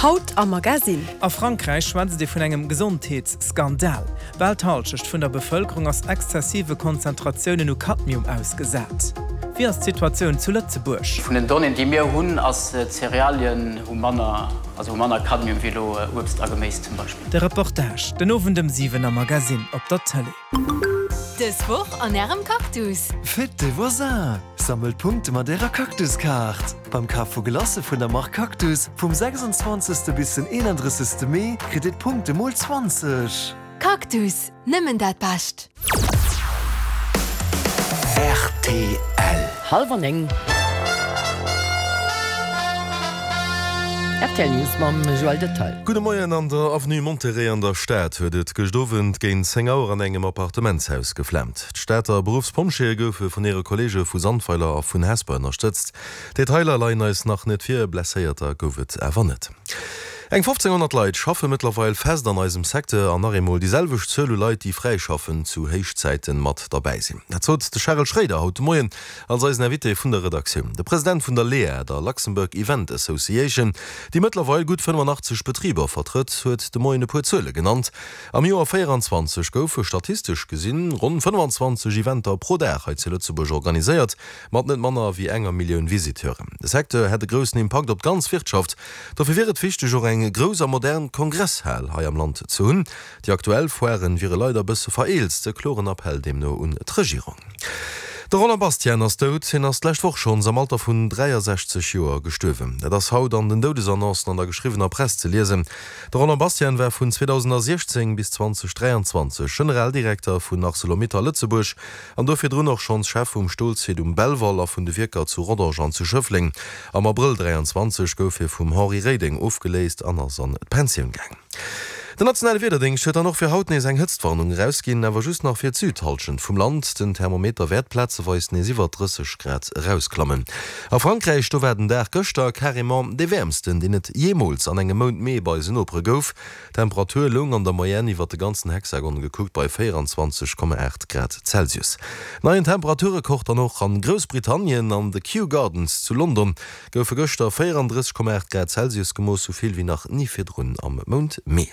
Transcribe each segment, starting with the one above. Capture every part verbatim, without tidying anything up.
Haut am Magasinn. A Frankräich schwätzt ee vun engem Gesondheetsskandal. Bal d'Hallschecht vun der Bevëlkerung ass exzessive Konzentratiounen u Cadmium ausgesat. Wéi ass d'Situatioun zu Lëtzebuerg? Vun den Donnéeën, déi mir hunn, ass Cerealien hu manner, also hu manner Cadmium wéi elo Uebst a Geméis zum Beispill. De Reportage den Owend ëm siwen am Magasinn op der Tëlee. Dës Woch an Ärem Cactus. Fête des voisins! Sammelt Punkte mat Ärer Cactus-Kaart! Beim Kaf vu Glacë vun der Mark Cactus vum sechsundzwanzegste bis den eenandrëssegste Mee kritt Dir d'Punkte mol zwanzeg! Cactus, nëmmen dat Bescht! Rtl. Hallwer néng. Rtl News mam Joël Detail. Gudde Moien, An der Avenue Monterey an der Stad huet et gëscht Owend géint zéng Auer an engem Appartementshaus geflaamt. D'Stater Beruffspompjeeë goufe vun hire Kolleege vu Sandweiler a vun Hesper ënnerstëtzt. Detailer leien eis nach net vir, Blesséierter gouf et awer net. Eng fofzénghonnert Leit schaffe mëttlerweil fest an eisem Secteur an nach eemol déi selwecht Zuel u Leit, déi fräi schaffen, zu Héichzäiten mat derbäi sinn. Dat sot de Charel Schroeder haut de Moien als eisen Invité vun der Redaktioun. De President vun der LEA, der Luxembourg Event Association, déi mëttlerweil gutt fënnefenachtzeg Betriber vertrëtt, huet de Moien e puer Zuele genannt. Am Joer véieranzwanzeg goufe statistesch gesinn ronn fënnefanzwanzeg Eventer pro Dag hei zu Lëtzebuerg organiséiert, mat net manner wéi enger Millioun Visiteuren. De Secteur hätt e groussen Impakt op d'ganz Wirtschaft. Dofir wier et wichteg, och eng grouss a modern Kongresshal hei am Land ze hunn. Déi aktuell Foiren wiere leider e bësse vereelzt. E kloren Appell deemno un d'Regierung. De Roland Bastian ass dout. Hien ass d'lescht Woch schonns am Alter vun dräiasechzeg Joer gestuerwen. Dat ass haut an den Doudesannoncen an der geschriwwener Press ze liesen. De Roland Bastian war vun zweedausensiechzéng bis zweedausendräianzwanzeg Generaldirekter vun Arcelor-Mittal Lëtzebuerg an do virdrun och schonns Chef vum Stolsite um Belval a vun de Wierker zu Rodange an zu Schëffleng. Am Abrëll dräianzwanzeg gouf hie vum Henri Reding ofgeléist an ass an d'Pensioun gaang. Den nationale Wiederdéngscht huet dann och fir haut nees eng Hëtztwarnung erausginn, awer just nach fir d'Südhallschent vum Land. Den Thermometer wäert plazeweis nees iwwer drësseg Grad erausklammen. A Frankräich, do war den Dag gëschter carrément dee wäermsten, deen et jeemools an engem Mount Mee bei eisen Nopere gouf. D'Temperatur loung an der Moyenne iwwer de ganzen Hexagon gekuckt bei véieranzwanzeg Komma aacht Grad Celsius. Neien Temperaturrekord dann och an Groussbritannien, An de Kew Gardens zu London goufe gëschter véierandrësseg Komma aacht Grad Celsius gemooss, sou vill wéi nach ni virdrun am Mount Mee.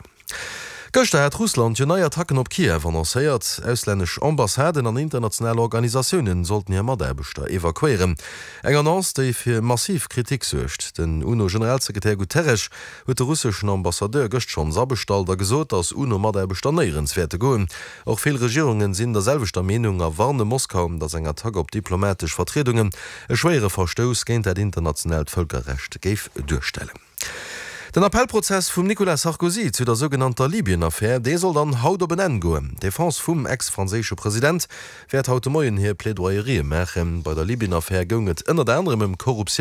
Gëschter hat Russland jo nei Attacken op Kiew annoncéiert. Auslännesch Ambassaden an international Organisatiounen sollten hir Mataarbechter evakuéieren. Eng Annonce, déi fir massiv Kritik suergt. Den UNO-Generalsekretär Guterres huet de russeschen Ambassadeur gëscht schonns abestallt a gesot, datt UNO-Mataarbechter néierens wäerte goen. Och vill Regierungen sinn der selwechter Meenung a warne Moskau, datt eng Attack op diplomatesch Vertriedungen e schwéiere Verstouss géint dat internationaalt Vëlkerrecht géif duerstellen. Den Appellprozess vum Nicolas Sarkozy zu der sougenannter Libyen-Affär, dee soll dann haut op en Enn goen. D'Defense vum ex-franséische President wäert haut de Moien hir Plaidoyerië maachen. Bei der Libyen-Affär goung et ënnert anerem ëm Korruptioun.